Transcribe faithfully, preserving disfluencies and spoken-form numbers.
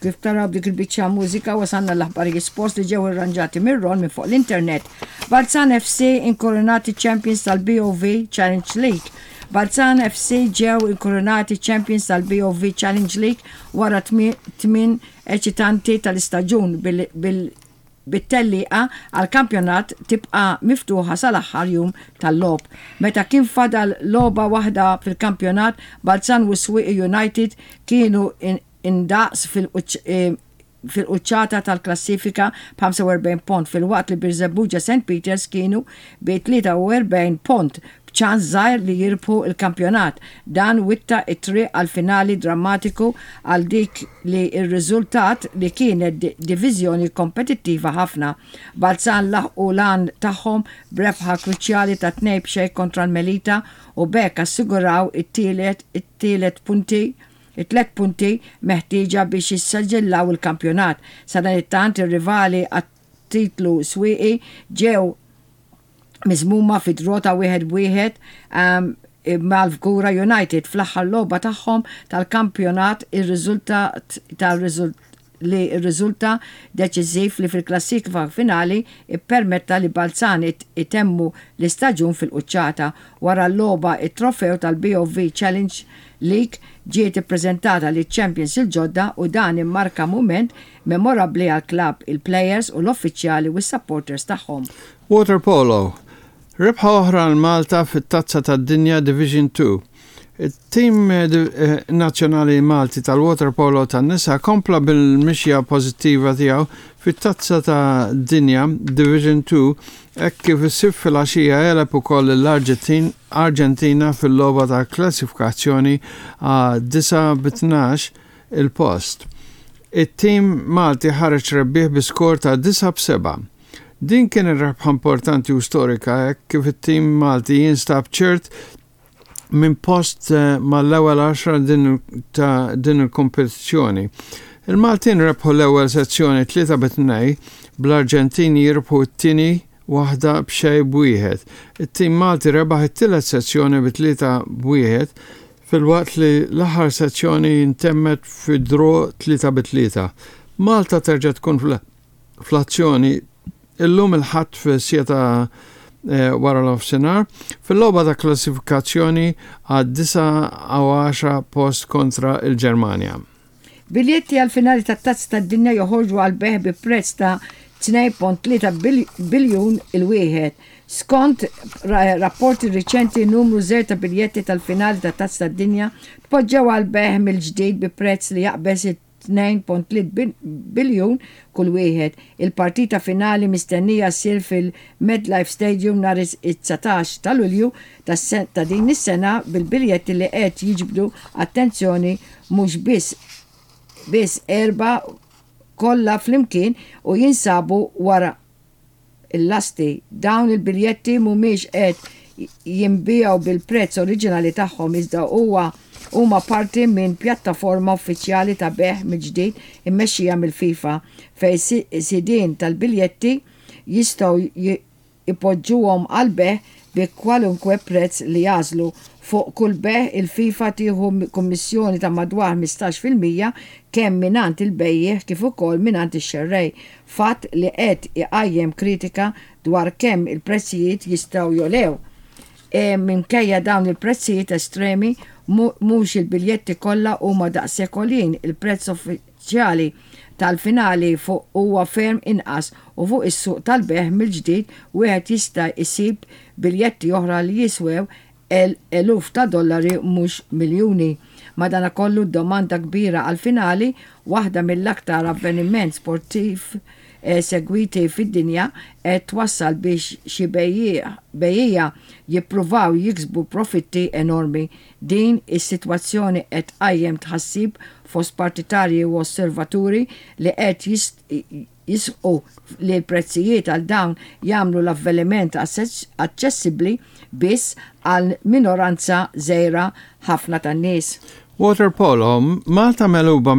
Kif taraw dik il-biċċa mużika, wasalna l-aħbarijiet sports li ġew irranġati mir-Ron minn fuq l-internet. Balzan F C inkoronati champions tal-B O V Challenge League. Balzan F C ġew inkoronati champions tal-B O V Challenge League wara tmien eċitanti tal-istaġun, bil bit-tellieqa għal kampjonat tibqa miftuħa sal-aħħar jum tal-logħob. Meta kien fadal logħba waħda fil-kampjonat, Balzan u Swieqi United kienu indaqs eh, fil-quċċata tal-klassifika b'ħamsa u erbgħin punt, filwaqt li Birżebbuġa Saint Peters kienu bi tlieta u erbgħin punt, b'ċans żgħir li jirbħu il-kampjonat. Dan witta it-triq għal finali drammatiku għal dik li r-riżultat li kienet diviżjoni kompetittiva ħafna. Balzan laħqu l-għan tagħhom b'rebħa kruċjali ta' tnejn b'xejn kontra l-Melita u b'hekk assiguraw it-tielet it-tielet punti it-tlet punti meħtieġa biex jissaġillaw il-kampjonat. Sadanittant, ir-rivali għat-titlu Swieqi ġew miżmuma fi draw ta' wieħed wieħed um, mal-Fgura United fl-aħħar logħba tagħhom tal-kampjonat, ir-riżultat tal li r-riżulta deċiżiv li fil-klassifika finali ippermetta li Balzan itemmu l-istaġun fil-quċċata. Wara l-logħba, it-trofew tal-B O V Challenge League ġiet ippreżentata liċ-champions il-ġodda u dan immarka mument memorabbli għall-klabb, il-players u l-uffiċjali u s-supporters tagħhom. Water Polo. Rebħa oħra għal Malta fit-Tazza tad-Dinja Division two. Il-tim eh, eh, nazzjonali Malti tal-waterpolo tan-nisa kompla bil-mixja pożittiva tiegħu fit-Tazza ta' Dinja Division two hekk kif is-Sibt filgħaxija għeleb ukoll l-Arġentina fil-logħba ta' klassifikazzjoni għal disa' bi tnax il-post. It-tim Malti ħareġ rebbieħ bi skor ta' disa' b'sebgħa. Din kien rebħa importanti u storika hekk kif it-tim Malti jinstab ċert minn post eh, mal-ewwel għaxra din ta' din il-kompetizzjoni. Il-Maltin rebħu l-ewwel sezzjoni tlieta bi tnejn, bl-Arġentini jirbħu t-tieni waħda b'xejn b'wieħed. It-tim Malti rebaħ it-tielet sezzjoni bi tlieta b'wieħed, filwaqt li l-aħħar sezzjoni intemmet fi draw tlieta bi tlieta. Malta terġa' tkun fl-azzjoni illum il-Ħadd fis-siegħa eh, wara l-nofsinhar fil-logħba ta' klassifikazzjoni għad disa' post kontra il-Ġermanja. Biljetti għal finali ta' Tazza tad-Dinja joħorġu għal bejgħ bi prezz ta' tnejn punt tlieta biljun il-wieħed. Skont rapporti riċenti, numru żgħir ta' biljetti tal-finali ta' Tazza tad-Dinja tpoġġew għal bejgħ mill-ġdid bi prezz li jaqbeż tnejn punt tlieta biljun kull wieħed. Il-partita finali mistennija ssir fil-MetLife Stadium nhar it-dsatax ta' Lulju ta' din is-sena, bil-biljetti li qed jiġbdu attenzjoni mhux biss biss erba' kollha flimkien u jinsabu wara il-lasti. Dawn il-biljetti mhumiex qed jinbiegħu bil-prezz oriġinali tagħhom, iżda huwa huma parti minn pjattaforma uffiċjali ta' bejgħ mill-ġdid immexxija mill-FIFA, fejn sidien tal-biljetti jistgħu ipoġġuhom għal bejgħ bi kwalunkwe prezz li jagħżlu. Fuq kull bejgħ, il-FIFA tieħu kummissjoni ta' madwar ħmistax fil-mija kemm mingħand il-bejjiegħ kif ukoll mingħand ix-xerrej, fatt li qed iqajjem kritika dwar kemm il-prezzijiet jistgħu jogħlew. E minkejja dawn il-prezzijiet estremi, mhux il-biljetti kollha huma daqshekk għoljin. Il-prezz uffiċjali tal-finali fuq huwa ferm inqas u fuq is-suq tal-bejgħ mill-ġdid wieħed jista' jsib biljetti oħra li jiswew eluf ta' dollari, mhux miljuni. Madanakollu, domanda kbira għal-finali, waħda mill-aktar avveniment sportiv eh, segwiti fid-dinja, qed twassal biex xi bejjiegħa jippruvaw jiksbu profitti enormi. Din is-sitwazzjoni qed tqajjem tħassib fost partitarji u osservaturi li qed jisħqu li l-prezzijiet għal dawn jagħmlu l-avveniment aċċessibbli biss għal minoranza żgħira ħafna tan-nies. Water Polo, Malta megħluba.